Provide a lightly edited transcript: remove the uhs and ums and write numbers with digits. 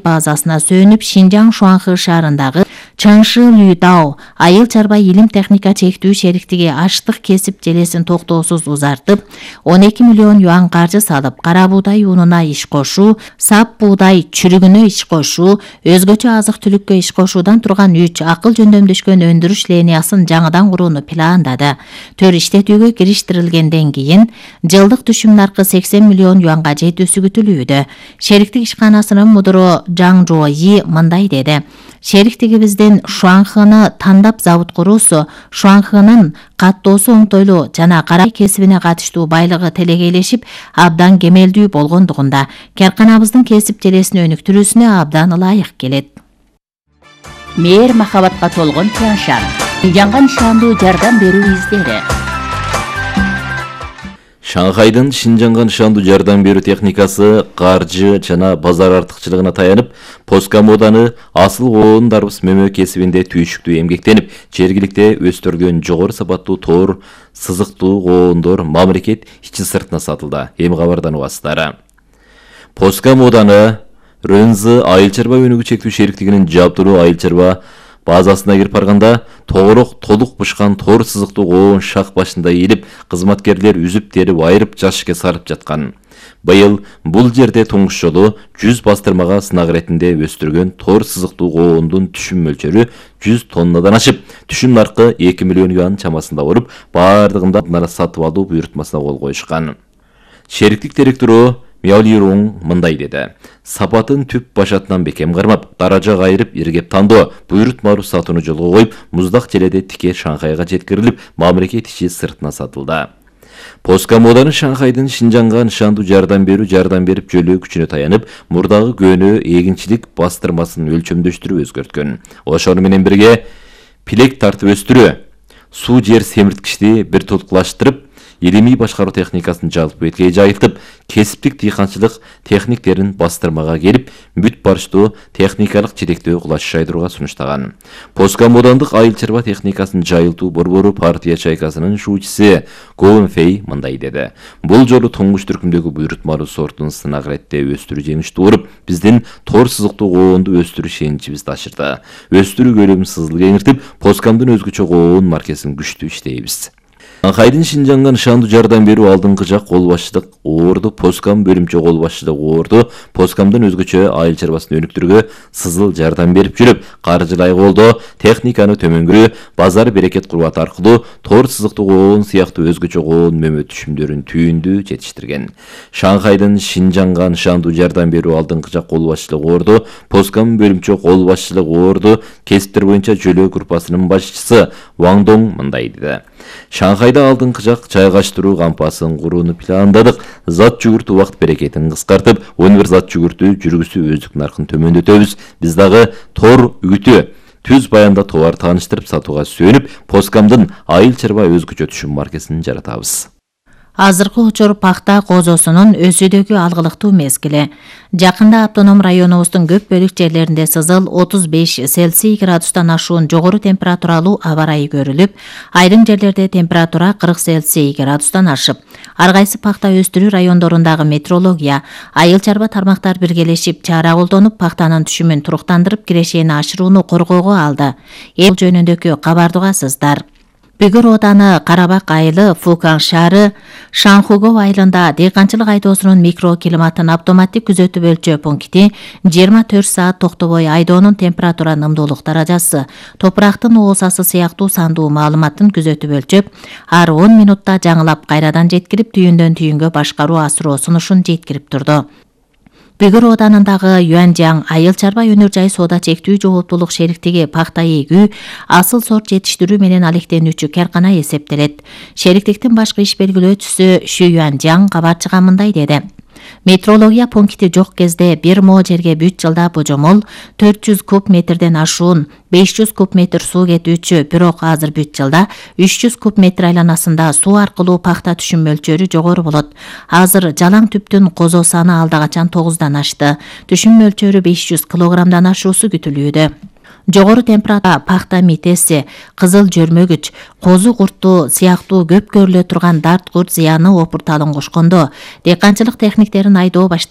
базасына сөөнүп Шинжаң Шуанхы шаарындагы Чаңшы Лүйдао айыл чарба илим техника чектүү шериктиги аштык кесип желесин токтоосуз узартып, 12 миллион юан каржы салып, кара буудай унуна иш кошуу, сап буудай чүрүгүнө иш кошуу, өзгөчө азык-түлүккө иш кошуудан турган 3 акыл жөндөмдөшкөн өндүрүш линиясын жаңыдан курууну пландады. Төр иштетүүгө кириштирилгенден кийин жылдык түшүм наркы 80 миллион юанга жетүүсү күтүлүүдө. Шериктик ишканасынын мудуру Жаң Жуои мындай деди: Шериктигибиздин Шуанхыны тандап завод куруусу Шуанхынын каттоосу оңтойлуу жана кара кесибине катыштуу байлыгы телегейлешип абдан кемелдүү болгондугунда карканабыздын кесип желесин өнүктүрүүсүнө абдан ылайык келет. Мээр махабатка толгон Тяншан. Жаңга нышандуу жардам берүү издери. Шанхайдын Шинжаңга нышандуу жардам берүү техникасы каржы жана базар артыкчылыгына таянып, Поскамоданы асыл коон дарбыз мөмө кесибинде түйшүктүү эмгектенип, жергиликте өстүрүлгөн жогору сапаттуу тоор сызыктуу коондор мамлекет ичи сыртына сатылды. Эми кабардан угасыздар. Поскамоданы Рөнзы айыл чарба өнүгүү чектүү шериктигинин жабдыруу айыл чарба базасына кирип барганда тоорок толук бышкан тоор сызыктуу коон шак башында ийилип, кызматкерлер үзүп терип айырып жашыкка сарып жаткан. Быйыл бул жерде туңгуш жолу 100 бастырмага сынак иретинде өстүргөн тоор сызыктуу коондун түшүм мөлчөрү 100 тоннадан ашып, түшүм наркы 2 миллион юан чамасында болуп, бардыгында нара сатып алуу буйрутмасына кол коюшкан. Шериктик директору Мяолирунг мындай деди: Сапатын түп башатынан бекем кармап, даража кайрып, иргеп тандоо, буйрутмалуу сатууну жолго коюп, муздак желеде тике Шанхайга жеткирилип, мамлекет ичи сыртына сатылды. Поскамоданы Шанхайдын Шинжаңга нышандуу жардам берип жөлөө күчүнө таянып, мурдагы көөнө эгинчилик бастырмасын өлчөмдөштүрүп өзгөрткөн. Ошону менен бирге пилек тартып өстүрүү, суу жер семирткичти бир толуклаштырып, илимий башкаруу техникасын жалпы бетке жайылтып, кесиптик дыйканчылык техниктерин бастырмага келип, бүт барыштуу техникалык жетектөө кулаш жайдырууга сунуштаган. Поскамодандык айыл чарба техникасын жайылтуу борбору партия чайкасынын шуучусу Гоун Фэй мындай деди: Бул жолу туңгуч түркүмдөгү буйрутмалуу сортун сынак иретте өстүрүү жеңиштүү болуп, биздин тоор сызыктуу коонду өстүрүү шеничибизди ашырды. Өстүрүү көлөмүн сызыл кеңиртип, Поскамдын өзгөчө коон маркесин күчтүү иштейбиз. Шанхайдын Шинжаңга нышандуу жардам берүү алдыңкы жак кол башчылык оорду, Поскам бөлүмчө кол башчылык оорду, Поскамдын өзгөчө айыл чарбасын өнүктүрүүгө сызыл жардам берип жүрүп, каржылай колдоо, техниканы төмөнгүрүү, базар берекет курбаты аркылуу тоор сызыктуу коон сыяктуу өзгөчө коон мөмө түшүмдөрүн түйүндү жетиштирген. Шанхайдын Шинжаңга нышандуу жардам берүү алдыңкы жак кол башчылык оорду, Поскам бөлүмчө кол башчылык оорду, кесиптер боюнча жөлөө группасынын башчысы Ван Донг мындай деди: Шанхайда алдыңкы жак жайгаштыруу кампасын курууну пландадык. Зат жүгүртүү убакыт берекетин кыскартып, 11 зат жүгүртүү жүргүзүү өздүк наркын төмөндөтөбүз. Биз дагы тоор үгүтү түз баянда товар тааныштырып сатууга сүйөнүп, Поскамдын айыл чарба өзгөчө түшүм маркесин жаратабыз. Азыркы учур пахта козосунун өсүүдөгү алгылыктуу мезгили. Жакында автоном районубуздун көп бөлүк жерлеринде сызыл 35 Цельсий градустан ашуун жогору температуралуу аба ырайы көрүлүп, айрым жерлерде температура 40 Цельсий градустан ашып, ар кайсы пахта өстүрүү райондорундагы метеорология, айыл чарба тармактар биргелешип чара колдонуп, пахтанын түшүмүн туруктандырып, кирешени ашырууну коргоого алды. Бул жөнүндөгү кабарды угасыздар. Бүгүр Ооданы Карабак айылы Фукан шаары Шанхугов айылында дыйканчылык айдоосунун микроклиматын автоматтик күзөтүү өлчөө пункти 24 саат токтобой айдоонун температура нымдуулук даражасы, топурактын оосасы сыяктуу сандуу маалыматын күзөтүп өлчөп, ар 10 минутта жаңылап кайрадан жеткирип, түйүндөн түйүнгө башкаруу асыроо сунушун жеткирип турду. Бүгүр Оодандагы Юанжаң айыл чарба өнөр жай соода чектүү жооптуулук шериктиги пахта эгүү, асыл сорт жетиштирүү менен алектенүүчү каркана эсептелет. Шериктиктин башкы иш белгилөөчүсү Шу Юанжаң кабарчыга мындай деди: Метеорология пункти жок кезде бир мо жерге бүт жылда божомол 400 куб метрден ашуун 500 куб метр суу кетүүчү, бирок азыр бүт жылда 300 куб метр айланасында суу аркылуу пахта түшүм мөлчөрү жогору болот. Азыр жалаң түптүн козо саны алда качан 9-дан ашты. Түшүм мөлчөрү 500 килограммдан ашуусу күтүлүүдө. Жогору температура пахта митеси, кызыл жөрмөгүч, козу курту сыяктуу көп көрүлө турган дарт курт зыяны опурталын кошкондо, дыйканчылык техниктерин айдоо